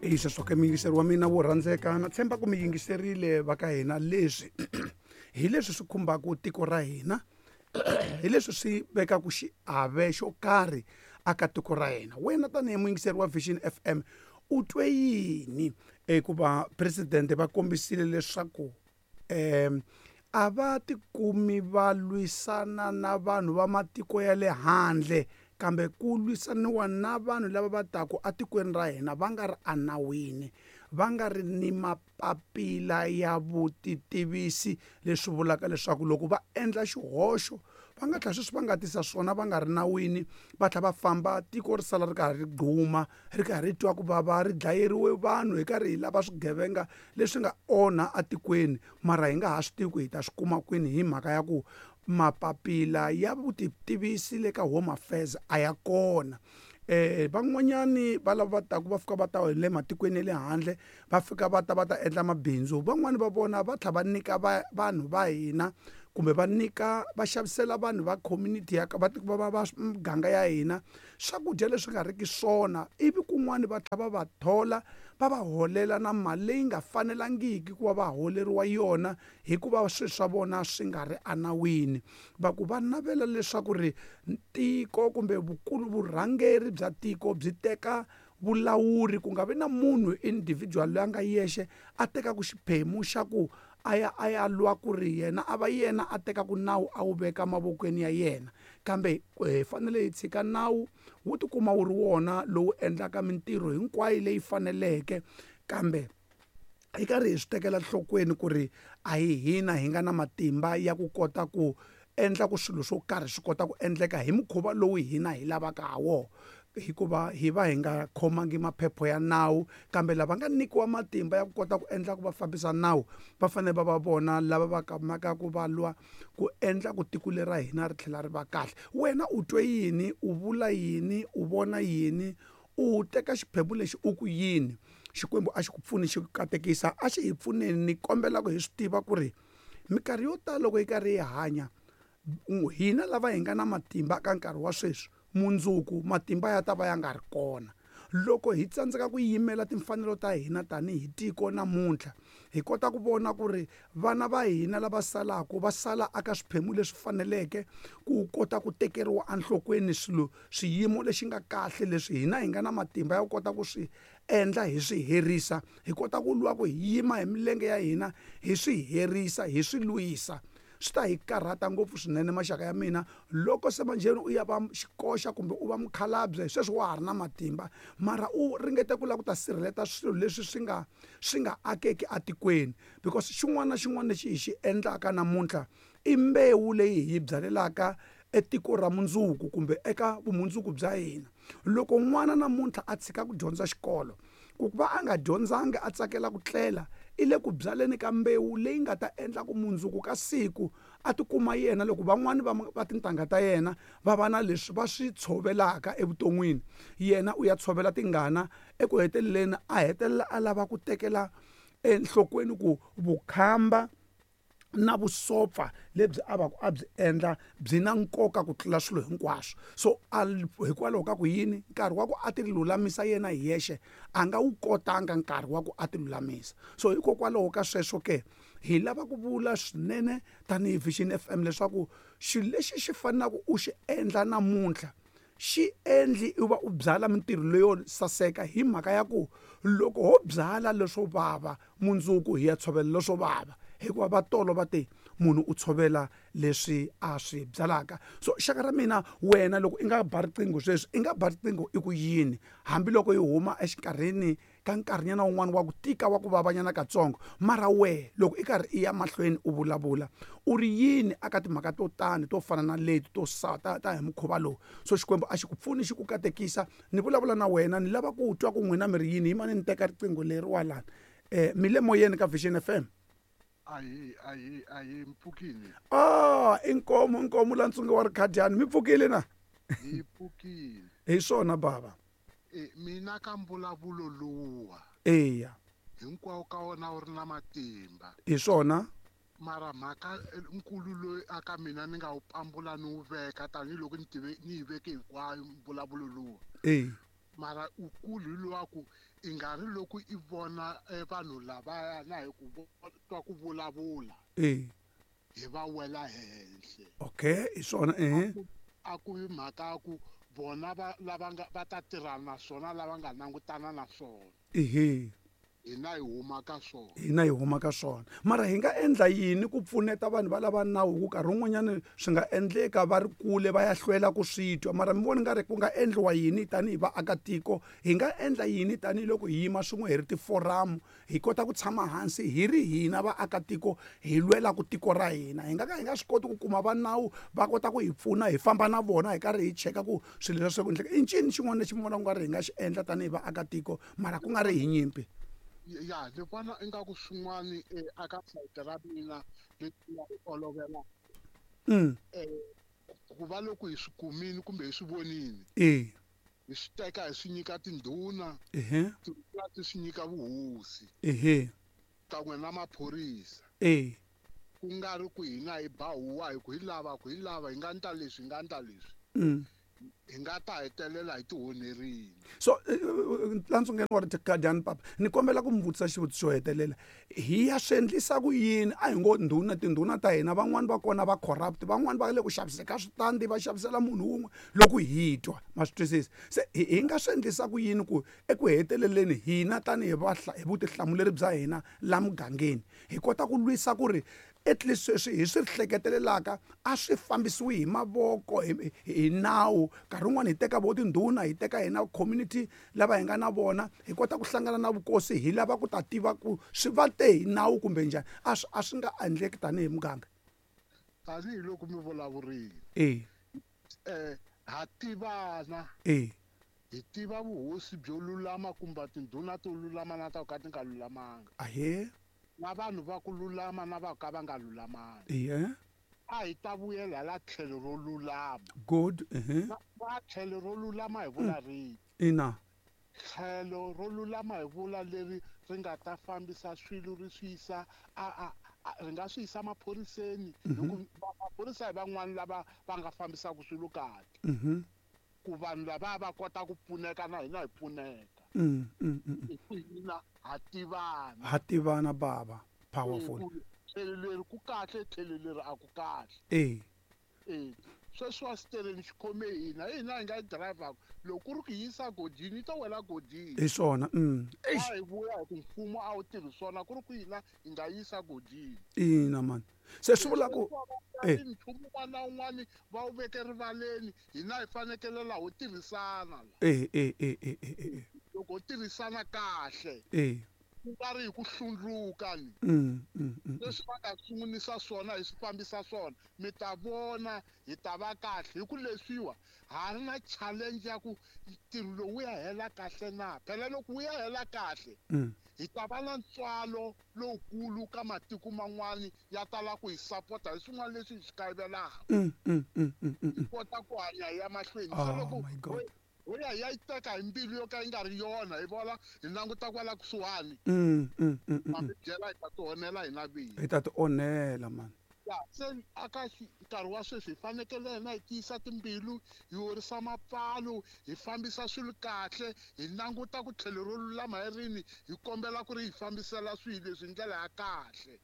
Hi sweswo ke muyingiseri wa mina wo rhandzeka, na tshemba ku mi yingiserile va ka hina. Leswi hi leswi swi khumbaka tiko ra hina, hi leswi swi vekaka xiave xo karhi aka tiko ra hina. Wena tanihi muyingiseri wa Vision FM, u twe yini hikuva presidente va kombisile leswaku a va tikumi va lwisana na vanhu va matiko ya le handle, kambe ku lwisaniwa na vanhu lava va taku atikweni ra hina va nga ri enawini, va nga ri ni mapapila ya vutitivisi, leswi vulaka leswaku loko va endla xihoxo va nga tlhela sweswi va nga tisa swona va nga ri nawini, va tlhela va famba, tiko ri sala ri karhi ri gquma, ri karhi ri twa ku vava, ri dlayeriwe vanhu hi karhi hi lava swigevenga leswi nga onha atikweni, mara hi nga ha swi tivi ku hi ta swi kuma kwini hi mhaka ya ku mapapila ya vutitivisi le ka Home Affairs a ya kona. Van'wanyani va lava va taku va fika va ta hi le matikweni ya le handle, va fika va ta va ta endla mabindzu, van'wani va vona va tlhela va nyika va vanhu va hina kumbe va nyika va xavisela vanhu va community ya va va va muganga ya hina swakudya leswi nga riki swona, ivi kun'wani va tlhela va va thola, va va holela na mali leyi nga fanelangiki ku va va holeriwa yona hikuva swilo swa vona swi nga ri enawini. Va ku va navela leswaku ri tiko kumbe vukulu vurhangeri bya tiko byi teka vulawuri, ku nga vi na munhu individual loyi a nga yexe a tekaka xiphemu xa ku a ya a ya lwa ku ri yena a va yena a tekaka nawu a wu veka mavokweni ya yena, kambe hi fanele hi tshika nawu wu tikuma wu ri wona lowu endlaka mintirho hinkwayo leyi faneleke, kambe hi karhi hi swi tekela enhlokweni ku ri a hi hina hi nga na matimba ya ku kota ku endla ku swilo swo karhi swi kota ku endleka hi mukhuva lowu hina hi lavaka ha wona, hikuva hi va hi nga khomangi maphepha ya nawu. Kambe lava nga nyikiwa matimba ya ku kota ku endla ku va fambisa nawu va fanele va va vona lava va kamaka ku va lwa ku endla ku tiko leri ra hina ri tlhela ri va kahle. Wena u twe yini, u vula yini, u vona yini, u teka xiphemu lexi u ku yini? Xikwembu a xi ku pfuni, xi ku katekisa, a xi hi pfuneni. Ni kombela ku hi swi tiva ku ri minkarhi yo tala loko hi karhi hi hanya, hina lava hi nga na matimba ka nkarhi wa sweswi, mundzuku matimba ya ta va ya nga ri kona. Loko hi tsandzeka ku yimela timfanelo ta hina tanihi tiko namuntlha, hi kota ku vona ku ri vana va hina lava salaka va sala aka swiphemu leswi faneleke ku kota ku tekeriwa enhlokweni swilo swiyimo lexi nga kahle leswi hina hi nga na matimba ya ku kota ku swi endla, hi swi herisa, hi kota ku lwa ku hi yima hi milenge ya hina, hi swi herisa, hi swi lwisa. Swi ta hi karhata ngopfu swinene maxaka ya mina loko se manjheni u ya va xikoxa kumbe u va mukhalabye, sweswi wa ha ri na matimba, mara u ringeta ku lava ku ta sirheleta swilo leswi swi nga akeki atikweni, because xin'wana na xin'wana lexi hi xi endlaka namuntlha i mbewu leyi hi yi byalelaka etiko ra mundzuku kumbe eka vumundzuku bya hina. Loko n'wana namuntlha a tshika ku dyondza xikolo, ku va a nga dyondzanga a tsakela ku tlela, i le ku byaleni ka mbewu leyi nga ta endla ku mundzuku ka siku a tikuma yena loko van'wani va tintangha ta yena va va na leswi va swi tshovelaka evuton'wini, yena u ya tshovela tingana. Eku heteleleni a hetelela a lava ku tekela enhlokweni ku vukhamba na vusopfa lebyi a va ku a byi endla byi na nkoka ku tlula swilo hinkwaswo. So a hikwalaho ka ku yini nkarhi wa ku a ti lulamisa yena hi yexe a nga wu kotanga nkarhi wa ku a ti lulamisa. So hikokwalaho ka sweswo ke hi lava ku vula swinene tanihi Vision FM leswaku xilo lexi xi fanelaka u xi endla namuntlha, xi endli u va u byala mintirho leyo saseka, hi mhaka ya ku loko ho byala leswo vava, mundzuku hi ya tshovela leswo vava, hikuva va tolo va te munhu u tshovela leswi a swi byalaka. So xaka ra mina, wena loko i nga ba riqingho sweswi, i nga ba riqingho i ku yini, hambiloko yi huma exikarhini ka nkarhinyana wun'wana wa ku tika wa ku vavanyana katsongo, mara wehe loko i karhi i ya mahlweni u vulavula u ri yini aka timhaka to tani to fana na leti to sa ta hi mukhuva lowu? So Xikwembu a xi ku pfuni, xi ku katekisa. Ni vulavula na wena, ni lava ku twa ku n'wina mi ri yini. Yimani ni teka riqingho leriwa lani. Mi le moyeni ka Vision FM. Ahi, ahi, ahi, mpfukile. Ah, inkomu, inkomu la Ntsunge wa Rikhadyani, mi pfukile na? Hi pfukile. Hi swona baba. E, mina ka mbulavulo luwa. Eya. Hinkwawo ka wona wu ri na matimba. Hi swona. Mara mhaka nkulu loyi aka mina ni nga wu pambula ni wu veka tanihiloko ni tive ni yi veke hinkwayo mbulavulo luwa. Eya. Mara ukulu hi lowa ku i nga ri loko i vona vanhu lavaya na hi ku twa ku vulavula hi va wela henhla. Okay, hi swona ehe. A ku vi mhaka ya ku vona va lava nga va ta tirhana na swona lava nga langutana na swona. Ehe. Hina hi huma ka swona. Hina hi huma ka swona. Mara hi nga endla yini ku pfuneta vanhu va lava nawu hi ku nkarhi wun'wanyana swi nga endleka va ri kule va ya hlwela ku swi twa mara mi vona nga ri ku nga endliwa yini tanihi vaakatiko hi nga endla yini tanihiloko hi yima swin'we hi ri tiforamu hi kota ku tshama hansi hi ri hina vaakatiko hi lwelaku tiko ra hina hi nga ka hi nga swi koti ku kuma va nawu va kota ku hi pfuna hi famba na vona hi karhi hi cheka ku swilo leswi ku endleka i ncini xin'wana lexi mi vonaka ku nga ri hi nga xi endla tanihi vaakatiko mara ku nga ri hi nyimpi. Ya ni vona ingaku swin'wani aka sayiti ra mina leswi nga ri olovela ku va loko hi swi kumini kumbe hi swi vonini hi swi teka hi swi nyika tindhuna, tindhuna ti swi nyika vuhosi kan'we na maphorisa. Ku nga ri ku hina hi ba huwa hi ku hi lava ku hi lava hi nga ndla leswi hi nga ndla leswi hi nga ta hetelela hi tihonherile. So la ntsungeni wa Guardian papa ni kombela ku mi vutisa xivutiso xo hetelela hi ya swi endlisa ku yini a hi ngo ndhuna tindhuna ta hina van'wani va kona va corrupt van'wani va le ku xaviseni ka switandi va xavisela munhu wun'we loko hi twa ma swi twisisa se hi nga swi endlisa ku yini ku eku heteleleni hina tanihi hi vutihlamuleri bya hina la mugangeni hi kota ku lwisa ku ri at least sweswi hi swi hleketelelaka a swi fambisiwi hi mavoko hi nawu nkarhi wun'wani hi teka vo tindhuna hi teka hina community lava hi nga na vona hi kota ku hlangana na vukosi hi lava ku ta tiva ku swi va te hi nawu kumbe njhani a swi a swi nga endleki tanihi muganga. Tanihiloko mi vulavurile ha tivana hi tiva vuhosi byo lulama kumbe tindhuna to lulama na ta ka ti nga lulamanga. Ahee. Na vanhu va ku lulama na va ka va nga lulamanga. A hi ta vuyela la tlhelo ro lulama. Good. Na tlhelo ro lulama hi vula rihi? Ina. Tlhelo ro lulama hi vula leri ri nga ta fambisa swilo ri swi yisa a ri nga swi yisa maphoriseni hi ku maphorisa hi van'wani lava va nga fambisaka swilo kahle. Ku vanhu lava va kota ku pfuneka na hina hi pfuneka. Hi ku hina ha tivana. Ha tivana baba. Powerful. Tlhelo leri ku kahle tlhelo leri a ku kahle. Sweswi wa xitereni xi khome hina hina hi nga yi dirayivhaka loko ku ri ku yisa godini yi to wela godini. Hi swona. A hi vuya hi ku mfumo a wu tirhi swona ku ri ku hina hi nga yisa godini. Ina mani. Se swi vula ku nchumu wun'wana na wun'wana va wu veke rivaleni hina hi fanekele laha ho tirhisana la. Loko ho tirhisana kahle ku nga ri hi ku hlundzuka ni leswi va nga sungulisa swona hi swi fambisa swona mi ta vona hi ta va kahle hi ku leswiwa ha ri na challenge ya ku ntirho lowu wu ya hela kahle na phela loko wu ya hela kahle hi ta va na ntswalo lowukulu ka matiko man'wani ya tala ku hi sapota hi swin'wana leswi hi swi kayivelaka hi kota ku hanya hi ya mahlweni. Se loko ho ya hi ya yi teka hi mbilu yo ka yi nga ri yona hi vona hi languta kwala kusuhani ma mi byela hi ta ti onhela hina vinyi. Hi ta ti onhela mani. Ya se aka nkarhi wa sweswi hi fanekele hina hi tiyisa timbilu hi horisa mapfalo hi fambisa swilo kahle hi languta ku tlhelo ro lulama hi rini hi kombela ku ri hi fambisela swilo leswi hi ndlela ya kahle.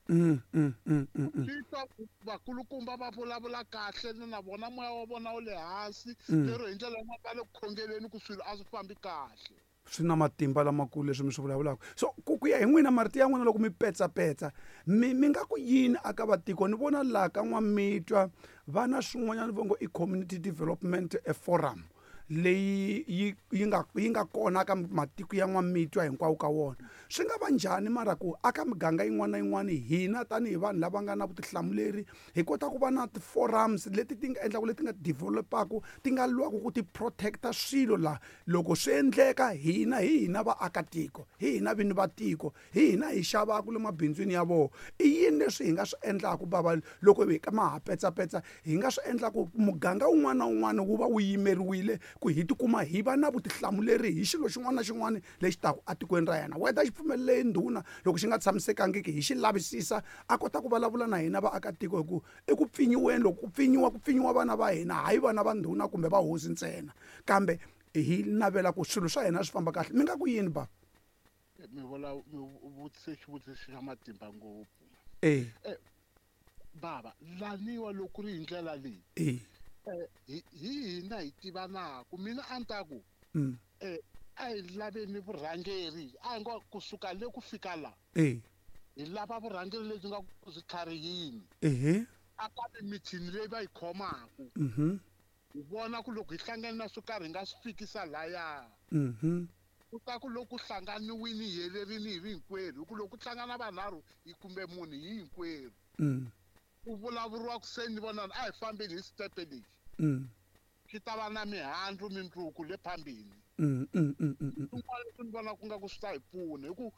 Swi twa vakulukumba va vulavula kahle na vona moya wa vona wu le hansi lero hi ndlela yin'wana va le ku khongeleni ku swilo a swi fambi kahle. Swi na matimba lamakulu leswi mi swi vulavulaka. So ku ya hi n'wina marito ya n'wina loko mi petsapetsa mi nga ku yini aka vatiko ni vona laha ka N'wamitwa va na swin'wanyana vo ngo i community development forum leyi yi nga kona ka matiko ya N'wamitwa hinkwawo ka wona. Swi nga va njhani mara ku aka miganga yin'wana na yin'wana hina tanihi vanhu lava nga na vutihlamuleri hi kota ku va na ti-forums leti ti nga endlaku leti nga develop-aku ti nga lwaku ku ti protect-a swilo laha loko swi endleka hina hi hina vaakatiko hi hina vini va tiko hi hina hi xavaku le mabindzwini ya vona. I yini leswi hi nga swi endlaku bava loko hi ma ha petsapetsa hi nga swi endlaku muganga wun'wana na wun'wana wu va wu yimeriwile ku hi tikuma hi va na vutihlamuleri hi xilo xin'wana na xin'wana lexi taku etikweni ra hina. Whether xi pfumelele ndhuna loko xi nga tshamisekangiki hi xi lavisisa a kota ku vulavula na hina vaakatiko hi ku eku pfinyiweni loko ku pfinyiwa ku pfinyiwa vana va hina hayi vana va ndhuna kumbe va hosi ntsena kambe Hi navela ku swilo swa hina swi famba kahle. Mi nga ku yini ba? Mi vula mi vutise xivutiso xa matimba ngopfu. Baba, laniwa loko ri hi ndlela leyi. Hi hina hi tivanaku. Mina a ni ta ku a hi laveni vurhangeri, a hi ngo kusuka le ku fika la. Hi lava vurhangeri lebyi nga ku byi tlharihini. A ka mithini leyi va yi khomaku. Hi vona ku loko hi hlangana na swo karhi hi nga swi fikisa laya. Ku ta ku loko hlanganiwini hi helerini hi ri hinkwerhu, hi ku loko ku hlangana vanharhu hi kumbe munhu hi hinkwerhu. Ku vulavuriwa ku se ni vona a hi fambeni hi stepe lexi. Swi ta va na mihandzu mindzuku le phambili. Swin'wana leswi ni vona ku nga ku swi ta hi pfuna hi ku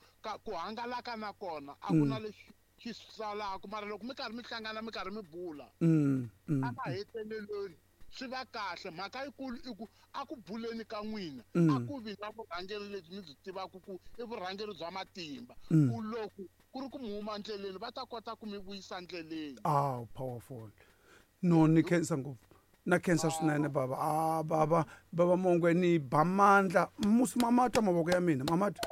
ku hangalaka na kona a ku na lexi xi salaka, mara loko mi karhi mi hlangana mi karhi mi bula a mahetelelweni swi va kahle. Mhaka yikulu i ku a ku buleni ka n'wina a ku vi na vurhangeri lebyi mi byi tivaka ku i vurhangeri bya matimba, ku loko ku ri ku mi huma ndleleni va ta kota ku mi vuyisa ndleleni. Ah, powerful. No, ni khensa ngopfu. Na khensa swinene baba. Ah, baba, baba Mongwe ni ba mandla. Musi mamatwa mavoko ya mina, mamatwa.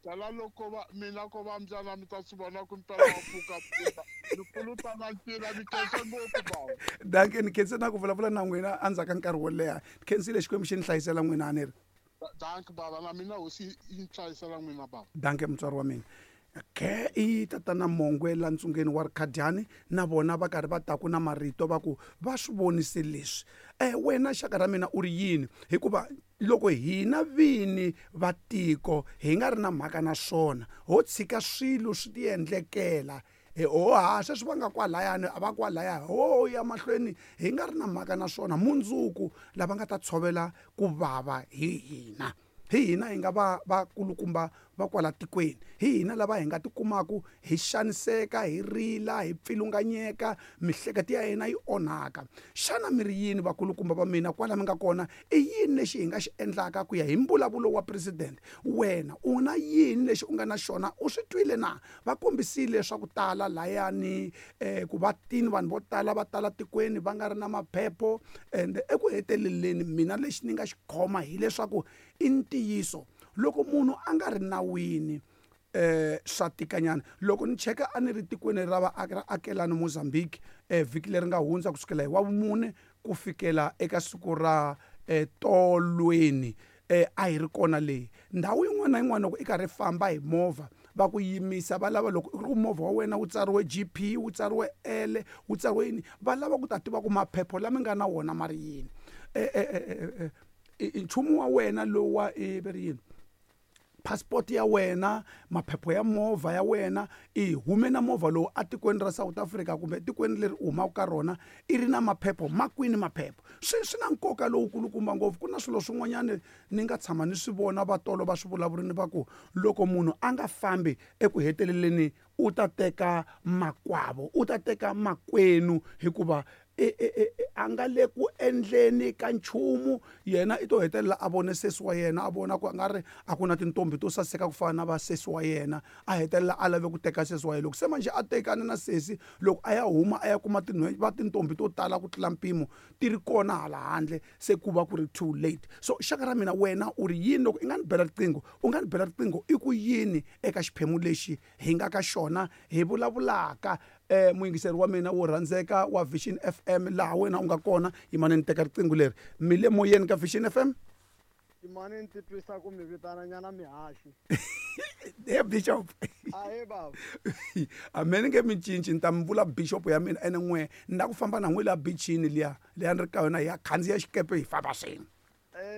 Tala loko va mina ko va mbyana mi ta swi vona ku mpela wa pfuka pfuka. Ni pfuluta na ncila, ni khensa ngopfu baba. Dankie, ni khensa na ku vulavula na n'wina endzhaku ka nkarhi wo leha. Ni khensile Xikwembu xi ni hlayisela n'wina a ni ri. Dankie baba, na mina hosi yi ni hlayisela n'wina baba. Dankie mutswari wa mina. Ke i tatana Mongwe la ntsungeni wa Rikhadiyani na vona va karhi va taku na marito va ku va swi vonise leswi. Wena xaka ra mina u ri yini? Hikuva loko hina vini va tiko hi nga ri na mhaka na swona, ho tshika swilo swi tiendlekela. Ho ha sweswi va nga kwalayani a va kwalaya, ho ya mahlweni hi nga ri na mhaka na swona. Mundzuku lava nga ta tshovela ku vava hi hina. Hi hina hi nga va vakulukumba va kwala tikweni, hi hina lava hi nga tikumaku hi xaniseka, hi rila, hi pfilunganyeka, mihleketo ya hina yi onhaka. Xana mi ri yini vakulukumba va mina kwala mi nga kona? I yini lexi hi nga xi endlaka ku ya hi mbulavulo wa president? Wena u na yini lexi u nga na xona? U swi twile na? Va kombisile swa ku tala layani, ku va tini vanhu vo tala va tala tikweni va nga ri na maphepho. And eku heteleleni mina lexi ni nga xi khoma hileswaku i ntiyiso loko munhu a nga ri nawini swa tikanyana. Loko ni cheka a ni ri tikweni ra ra akelani Mozambique vhiki leri nga hundza kusukela hi wa vumune ku fikela eka siku ra tolweni, a hi ri kona leyi ndhawu yin'wana na yin'wana. Loko i karhi famba hi movha va ku yimisa, va lava loko i ri ku movha wa wena wu tsariwe GP, wu tsariwe L, wu tsariwe yini, va lava ku ta tiva ku maphepho lama nga na wona ma ri yini. Nchumu wa wena lowu wa ve ri yini, passport ya wena, maphepho ya movha ya wena, i hume na movha lowu atikweni ra South Africa kumbe tikweni leri u humaka ka rona i ri na maphepho makwini maphepho. Swi na nkoka lowukulukumba ngopfu. Ku na swilo swin'wanyana ni nga tshama ni swi vona vatolo va swi vulavurini va ku loko munhu a nga fambi eku heteleleni u ta teka makwavo, u ta teka makwenu, hikuva a nga le ku endleni ka nchumu. Yena i to hetelela a vone sesi wa yena, a vona ku a nga ri a ku na tintombi to saseka ku fana na va sesi wa yena, a hetelela a lave ku teka sesi wa yena. Loko se manjhe a tekane na sesi, loko a ya huma a ya kuma va tintombi to tala ku tlula mpimo ti ri kona hala handle, se ku va ku ri too late. So xaka ra mina, wena u ri yini loko i nga ni bela riqingho? U nga ni bela riqingho i ku yini eka xiphemu lexi hi nga ka xona hi vulavulaka? Muyingiseri wa mina wo rhandzeka wa Vision FM, laha wena u nga kona, yimani ni teka riqingho leri. Mi le moyeni ka Vision FM? Yimani ni titwisa ku mi vitana nyana mihaxi. He Bishop. Ahe baba. A me ni nge mi cinci, ni ta mi vula Bishop ya mina ene n'we ni la ku famba na n'we la beachini liya, liya ni ri ka yona hi ya khandziya xikepe hi famba swin'we.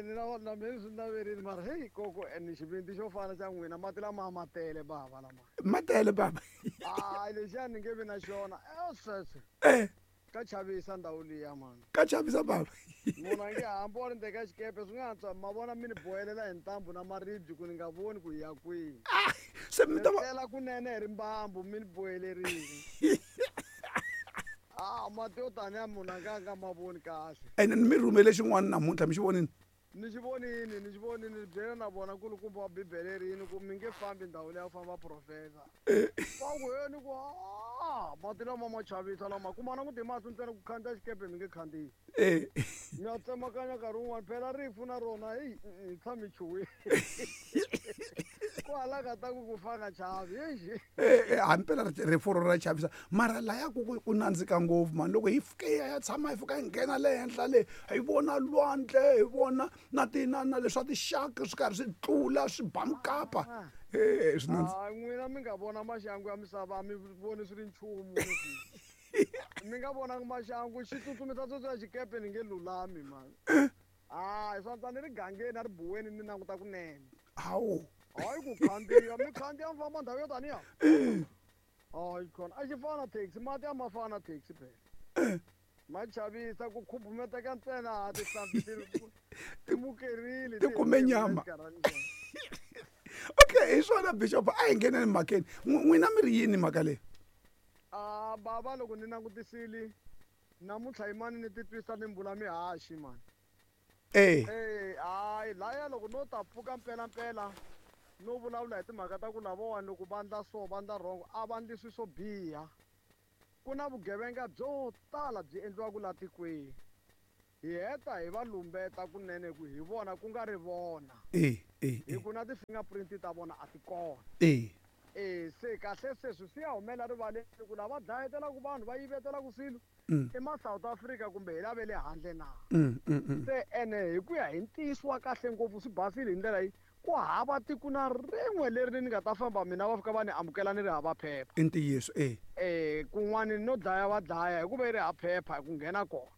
Ni na na mina swi naverile mara hey koko ni xivindzi xo fana xa n'wina, mati lama ma tele baba lama. Ma tele baba. Hayi lexiya ni nge vi na xona. Sweswo. Ka chavisa ndhawu liya mani. Ka chavisa baba. Munhu a nge hambi wa ri ndzeni ka xikepe swi nga antswa ma vona mi ni bohelela hi ntambu na maribye ku ni nga voni ku hi ya kwihi. Se mi ta va tlela kunene hi rimbambu mi ni bohelerile. Mati yo taniya munhu a nga nga ma voni kahle. Ene ni mi rhumele xin'wana namuntlha, mi xi vonile? Ni xi vonini, ni xi vonini, ni byela na vona nkulukumba wa Bibele rini ku mi nge fambi ndhawu leyi a ku famba profesa. Va ku he ni ku a mati lama ma chavisa lama kuma na ku ti mahlo ntsena ku khandziya xikepe mi nge khandziyi. Mi ya tsemakanya nkarhi wun'wani phela rifu na rona heyi hi tshame hi chuhile. Ku hala ka ta ku ku fa nga chavi eish. Hambi phela rifu ro ra chavisa mara laya ku nandzika ngopfu mani loko hi fike hi ya tshama hi fika hi nghena le henhla le hi vona lwandle hi vona na ti na na leswa ti-shark swi karhi swi tlula swi ba mukapa e swi nandzi n'wina mi nga vona maxangu ya misava a mi voni swi ri nchumu mi nga vonanga maxangu xi tsutsumisa tsutsuma xikepe ni nge lulami mani hayi swa ni ri gangeni a ri buweni ni languta kunene. Hawu. Hayi ku khandziya mi khandziya mi famba ndhawu yo taniya. Hayi khona a xi fana na taxi mati a ma fana na taxi phela. Ma chavisa ku khubumeteka ntsena a tihlampfi ti mukerile ti kume nyama. Okay, hi swona bishop a hi ngheneni mhakeni. N'wina mi ri yini mhaka leyi? A bava loko ni langutisile namuntlha yimani ni titwisa ni mbula mihaxi mani. Eh. Hayi laya loko no ta pfuka mpelampela no vulavula hi timhaka ta ku lavawani loko va ndla so va ndla wrong a va ndli swilo swo biha. Ku na vugevenga byo tala byi endliwaka la tikweni. Hi heta hi va lumbeta kunene ku hi vona ku nga ri vona. Hi ku na ti-fingerprint ta vona a ti kona. Se kahle sweswi swi ya humela rivaleni ku lava dlayetelaka vanhu va yivetelaka swilo i ma South Africa kumbe hi lave le handle na. Se ene hi ku ya hi ntiyiso wa kahle ngopfu swi basile hi ndlela yi ku hava tiko na rin'we leri ni nga ta famba mina va fika va ni amukela ni ri hava phepha. I ntiyiso Kun'wani no dlaya va dlaya hikuva yi ri hava phepha ku nghena kona.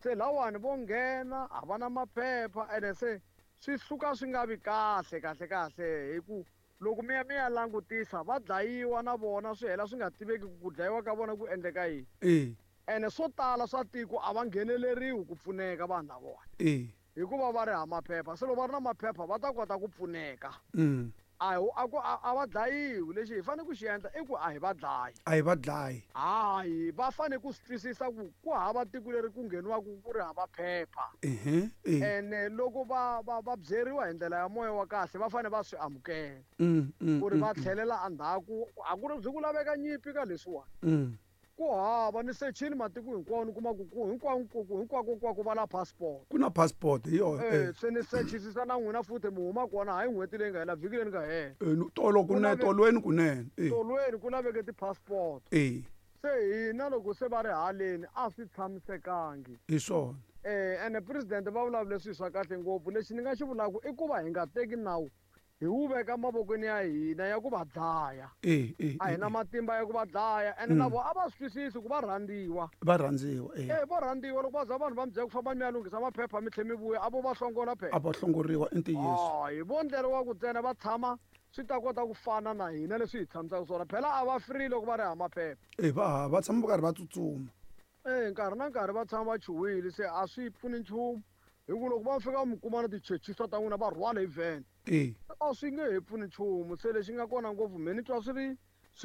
Se lawani vo nghena a va na maphepha ene se swi suka swi nga vi kahle kahle kahle hi ku loko mi ya mi ya langutisa va dlayiwa na vona swi hela swi nga tiveki ku dlayiwa ka vona ku endleka yini. Ene swo tala swa tiko a va ngheneleriwi ku pfuneka vanhu lavawani. Hikuva va ri hava maphepha se loko va ri na maphepha va ta kota ku pfuneka. A a va dlayiwi lexi hi fanele ku xi endla i ku a hi va dlayi. A hi va dlayi. Hayi va fanele ku swi twisisa ku ku hava tiko leri ku ngheniwaka ku ri hava phepha. Ene loko va va va byeriwa hi ndlela ya moya wa kahle va fanele va swi amukela. Ku ri va tlhelela endzhaku a ku ri byi ku laveka nyimpi ka leswiwani. Ku hava ni sechini matiko hinkwawo ni kuma ku ku hinkwako hinkwako hinkwako va na passport. Ku na passport hi yona. Se ni sechisisa na n'wina futhi mi huma kona hayi n'hweti leyi nga hela vhiki leri nga hela. Tolo kunene tolweni kunene. Tolweni ku laveke ti-passport. Se hina loko se va ri haleni a swi tshamisekangi. Hi swona. Ene president va vulavule swilo swa kahle ngopfu lexi ni nga xi vulaka i ku va hi nga teki nawu hi wu veka mavokweni ya hina ya ku va dlaya. A hi na matimba ya ku va dlaya ene na vona a va swi twisisi ku va rhandziwa. Va rhandziwa Va rhandziwa loko va za vanhu va mi byela ku famba mi ya lunghisa maphepha mi tlhe mi vuya a vo va hlongola phela. A va hlongoriwa i ntiyiso. Hayi vo ndleriwa ku ntsena va tshama swi ta kota ku fana na hina leswi hi tshamisaka swona phela a va free loko va ri hava maphepha. Va va tshama va karhi va tsutsuma. Nkarhi na nkarhi va tshama va chuhile se a swi pfuni nchumu hi ku loko va fika mi kuma na tichechisa ta n'wina va rhwala hi van. A swi nge he pfuni nchumu se lexi nga kona ngopfu me ni twa swi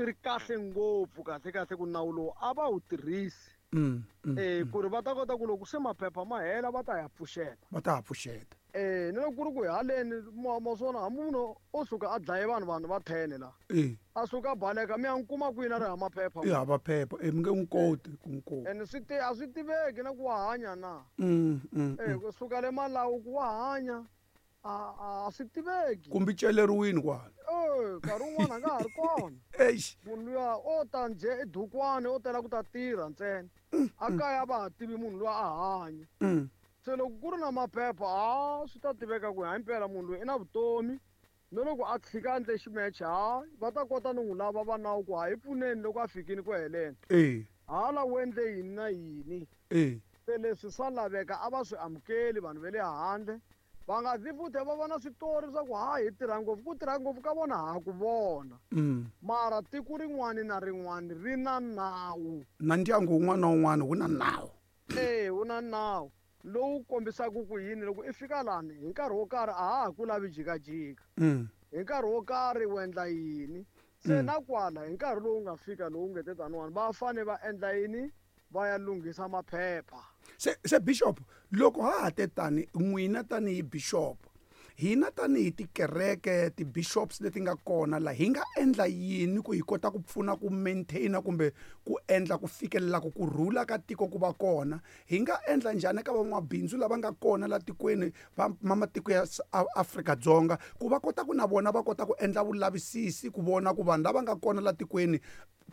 ri kahle ngopfu kahle kahle ku nawu lowu a va wu tirhisi. Ku ri va ta kota ku loko se maphepha ma hela va ta ya pfuxeta. Va ta ya pfuxeta. Ni loko ku ri ku hi haleni ma swona hambi munhu o suka a dlaye vanhu vanhu va 10 la. A suka a baleka mi ya n'wi kuma kwini a ri hava maphepha. I hava phepha mi nge n'wi koti ku n'wi kuma. Ene swi a swi tiveki na ku wa hanya na. Kusuka le Malawi ku wa hanya a swi tiveki. Kumbe celeriwini kwala. Nkarhi wun'wana a nga ha ri kona. Eish. Munhu luya o ta njhe edukwani o tela ku ta tirha ntsena. A kaya va ha tivi munhu luya a hanya. Se loko ku ri na maphepha a swi ta tiveka ku hayi mpela munhu loyi i na vutomi. No loko a tshika endle ximeche ha va ta kota no n'wi lava va nawu ku ha hi pfuneni loko a fikile ku heleni. Hala u endle yini na yini. Se leswi swa laveka a va swi amukeli vanhu va le handle. Va nga zi futhi va vona switori swa ku ha hi tirha ngopfu ku tirha ngopfu ka vona ha ku vona. Mara tiko rin'wani na rin'wani ri na nawu. Na ndyangu wun'wana na wun'wana wu na nawu. Wu na nawu lowu kombisaka ku yini loko i fika lani hi nkarhi wo karhi a ha ha ku lavi jikajika. Hi nkarhi wo karhi u endla yini. Se na kwala hi nkarhi lowu nga fika lowu nge te taniwani va fane va endla yini. Va ya lunghisa maphepha. Se bishop, loko ha ha te tani, n'wina tanihi bishop, hina tanihi tikereke, ti-bishops leti nga kona la, hi nga endla yini ku hi kota ku pfuna ku maintaina kumbe ku endla ku fikelela ku kurhula ka tiko ku va kona? Hi nga endla njhani eka van'wabindzu lava nga kona la tikweni va matiko ya Afrika-Dzonga ku va kota ku na vona va kota ku endla vulavisisi ku vona ku vanhu lava nga kona la tikweni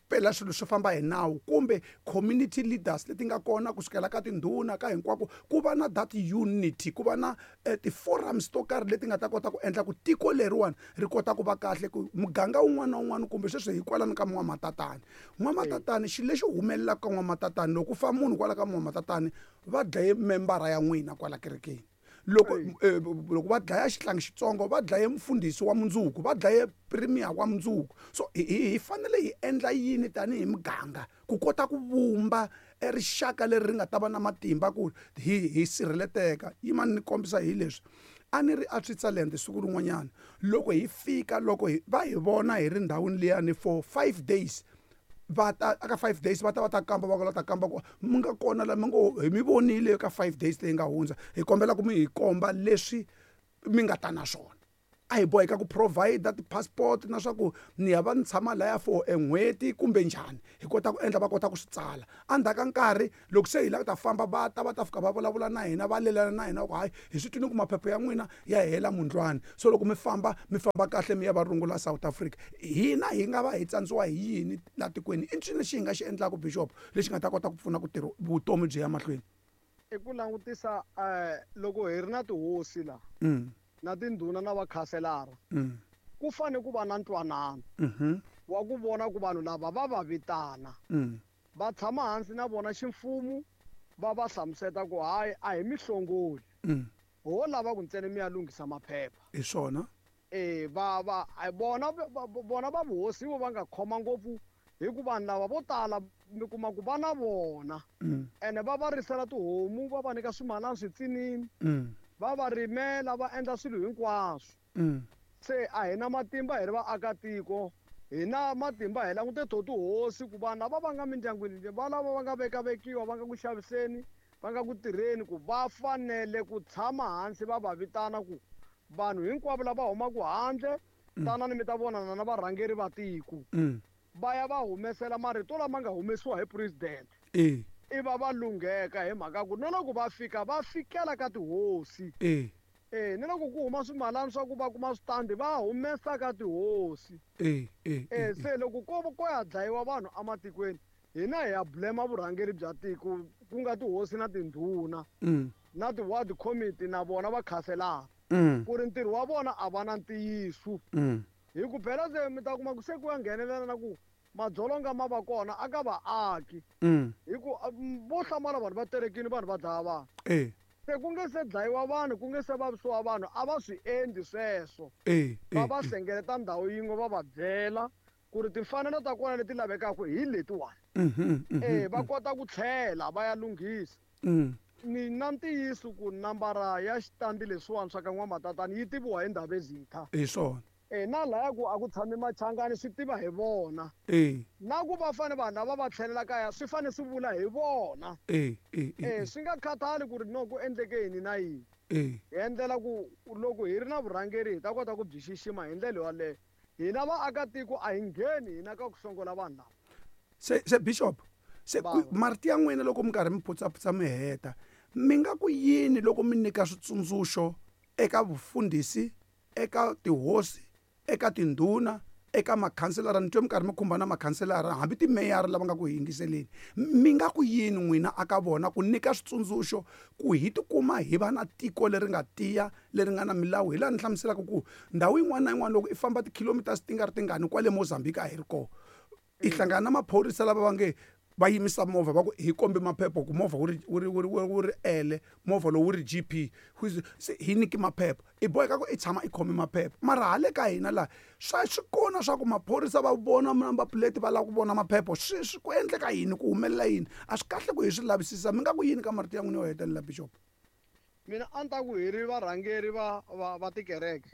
pela swilo swi famba hi nawu, kumbe community leaders leti nga kona kusukela ka tindhuna ka hinkwako, ku va na that unity, ku va na ti-forums to karhi leti nga ta kota ku endla ku tiko leriwani ri kota ku va kahle, ku muganga wun'wana na wun'wana, kumbe sweswi hi kwalano ka N'wamatatani. N'wamatatani, xilo lexi humelelaka ka N'wamatatani, loko ku fa munhu kwala ka N'wamatatani, va dlaye membara ya n'wina kwala kerekeni. Loko loko va dlaya xihlangi xitsongo, va dlaye mufundhisi wa mundzuku, va dlaye premier wa mundzuku. So hi fanele hi endla yini tanihi muganga ku kota ku vumba rixaka leri ri nga ta va na matimba ku hi sirheleteka? Yimani ni kombisa hi leswi. A ni ri a Switzerland siku rin'wanyana, loko hi fika, loko va hi vona hi ri ndhawini liyani for 5 days, va ta aka 5 days va ta va ta kamba, va ta kamba ku mi nga kona la mi ngo hi mi vonile ka 5 days leyi nga hundza, hi kombela ku mi hi komba leswi mi nga ta na swona. A hi boheka ku provide ti-passport na swa ku ni ya va ni tshama laya for e n'hweti kumbe njhani, hi kota ku endla va kota ku swi tsala. Endzhaku ka nkarhi loko se hi lava ku ta famba, va ta va ta fika va vulavula na hina, va lelana na hina ku hayi, hi swi twile ku maphepha ya n'wina ya hela mundlwani, so loko mi famba, mi famba kahle, mi ya va rungula South Africa. Hina hi nga va hi tsandziwa hi yini la tikweni? I ncini lexi hi nga xi endlaka, bishop, lexi nga ta kota ku pfuna ku tirha vutomi byi ya mahlweni? I ku langutisa loko hi ri na tihosi la na tindhuna na vakhanselara, ku fanele ku va na ntwanano wa ku vona ku vanhu lava va va vitana, va tshama hansi na vona ximfumo, va va hlamuseta ku hayi, a hi mihlongoli, ho lava ku ntsena mi ya lunghisa maphepha. Hi swona. Va, va, a vona, va, va, vona va vuhosi vo va nga khoma ngopfu, hi ku vanhu lava vo tala mi kuma ku va na vona. Ene va va risela tihomu, va va nyika swimalana switsinini, va va rimela, va endla swilo hinkwaswo. Se a hi na matimba hi ri vaakatiko, hi na matimba hi langute to tihosi ku vanhu lava va nga mindyangwini, va lava va nga vekavekiwa, va nga ku xaviseni, va nga ku tirheni, ku va fanele ku tshama hansi va va vitana ku vanhu hinkwavo lava humaka handle, tanani mi ta vonana na varhangeri va tiko. Va ya va humesela marito lama nga humesiwa hi president. I va va lungheka hi mhaka ku na loko va fika, va fikela ka tihosi. Ni loko ku huma swimalana swa ku va kuma switandi, va humesa ka tihosi. Se loko ko ya dlayiwa vanhu ematikweni, hina hi ya blame vurhangeri bya tiko, ku nga tihosi na tindhuna, na ti-ward committee na vona va khanselara. Ku ri ntirho wa vona a va na ntiyiso. Hi ku phela se mi ta kuma ku se ku ya nghenelela na ku madzolonga ma va kona a ka vaaki. Hi ku, vo hlamala vanhu va terekile, vanhu va dlaya vanhu. Se ku nge se dlayiwa vanhu, ku nge se vavisiwa vanhu, a va swi endli sweswo. Va va hlengeleta ndhawu yin'we va va byela ku ri timfanelo ta kona leti lavekaka hi letiwani. Va kota ku tlhela va ya lunghisa. Ni na ntiyiso ku nambara ya xitandi leswiwani swa ka N'wamatatani yi tiviwa hi Ndhavezitha. Hi swona. Na laya ku a ku tshami machangani swi tiva hi vona. Na ku va fane vanhu lava va tlhelela kaya swi fane swi vula hi vona. Swi nga khathali ku ri no ku endleke yini na yini. Hi endlela ku loko hi ri na vurhangeri hi ta kota ku byi xixima hi ndlela yoleyo. Hina vaakatiko a hi ngheni hina ka ku hlongola vanhu lava. Se Bishop, se Bava. marito ya n'wina loko mi karhi mi phutsaputsa mi heta, mi nga ku yini loko mi nyika switsundzuxo eka vufundhisi, eka tihosi, eka tindhuna, eka makhanselara? Ni twe mi karhi mi khumba na makhanselara, hambi timeyara lava nga ku yingiseleni. Mi nga ku yini n'wina aka vona ku nyika switsundzuxo ku hi tikuma hi va na tiko leri nga tiya, leri nga na milawu? Hi laha ni hlamuselaka ku ndhawu yin'wana na yin'wana loko i famba ti-kilometers ti nga ri tingani kwale Mozambique a hi ri kona, i hlangana na maphorisa lava va nge va yimisa movha va ku hi kombe maphepha ku movha wu ri L, movha lowu wu ri GP, se hi nyiki maphepha. I boheka ku i tshama i khome maphepha. Mara hale ka hina laha swa swi kona swa ku maphorisa va vona number plate va lava ku vona maphepha, swi ku endleka yini, ku humelela yini? A swi kahle ku hi swi lavisisa. Mi nga ku yini ka marito ya n'wina yo hetelela, Bishop? Mina a ni ta ku hi ri varhangeri va tikereke.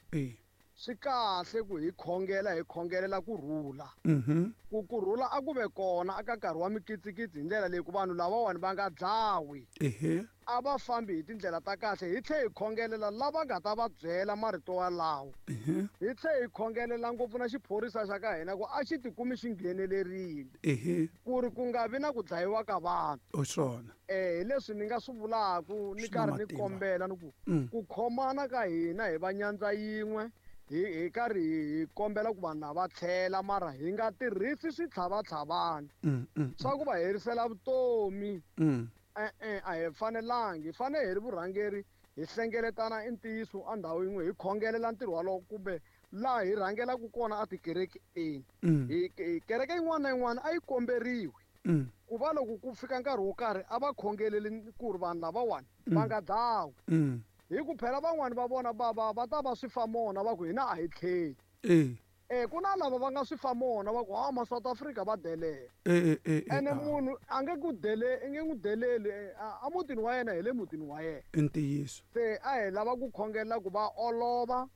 Swi kahle ku hi khongela hi khongelela ku rhula. Mhm. Ku kurhula a ku ve kona aka nkarhi wa mikitsikitsi hi ndlela leyi ku vanhu lavawani va nga dlawi. Ehe. A va fambi hi tindlela ta kahle hi tlhe hi khongelela lava nga ta va byela marito walawo. Ehe. Hi tlhe hi khongelela ngopfu na xiphorisa xa ka hina ku a xi tikumi xi nghenelerile. Ehe. Ku ri ku nga vi na ku dlayiwa ka vanhu. O swona. Hi leswi ni nga swi vulaku ni Swi na karhi ni matimba. kombela ni ku Mm. ku khomana ka hina hi va nyandza yin'we hi hi karhi hi kombela ku vanhu lava tlhela mara hi nga tirhisi switlhavatlhavani Mm, mm, swa ku va herisela vutomi. mm. E-e, a hi fanelangi, hi fanele hi ri vurhangeri hi hlengeletana i ntiyiso endhawu yin'we hi khongelela ntirho walowo kumbe laha hi rhangelaka kona etikerekeni. Mm. Hi hi kereke yin'wana na yin'wana a yi komberiwi Mm. ku va loko ku fika nkarhi wo karhi a va khongeleli ku ri vanhu lavawani va Mm. nga dlawi. Mm. Hi ku phela van'wani va vona va va va ta va swi fa mona va ku hina a hi tlheli. Eh. Ku na lava va nga swi fa mona va ku ha ma South Africa va delela. Eh, eh, eh, Ene ah. munhu a nge ku dele i nge n'wi deleli a mutini wa yena hi le mutini wa yena. I ntiyiso. Se a hi lava ku khongelela ku va olova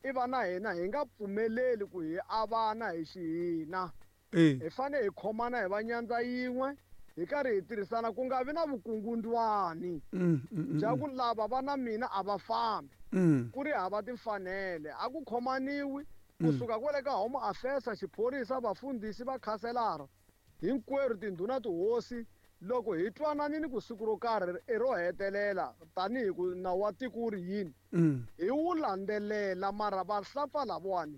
i va na hina hi nga pfumeleli ku hi avana hi xihina. Eh. Hi fanele hi khomana hi va nyandza yin'we hi karhi hi tirhisana ku nga vi na vukungundwani Mm, mm, mm, bya mm. ku lava va na mina a va fambi. Mm. Ku ri hava timfanele a ku khomaniwi Mm. kusuka kwale ka Home Affairs, xiphorisa, vafundhisi, vakhanselara hinkwerhu tindhuna tihosi loko hi twananini ku siku ro karhi i ro hetelela tanihi ku nawu wa tiko wu ri yini Mm. hi wu landzelela mara vahlampfa lavawani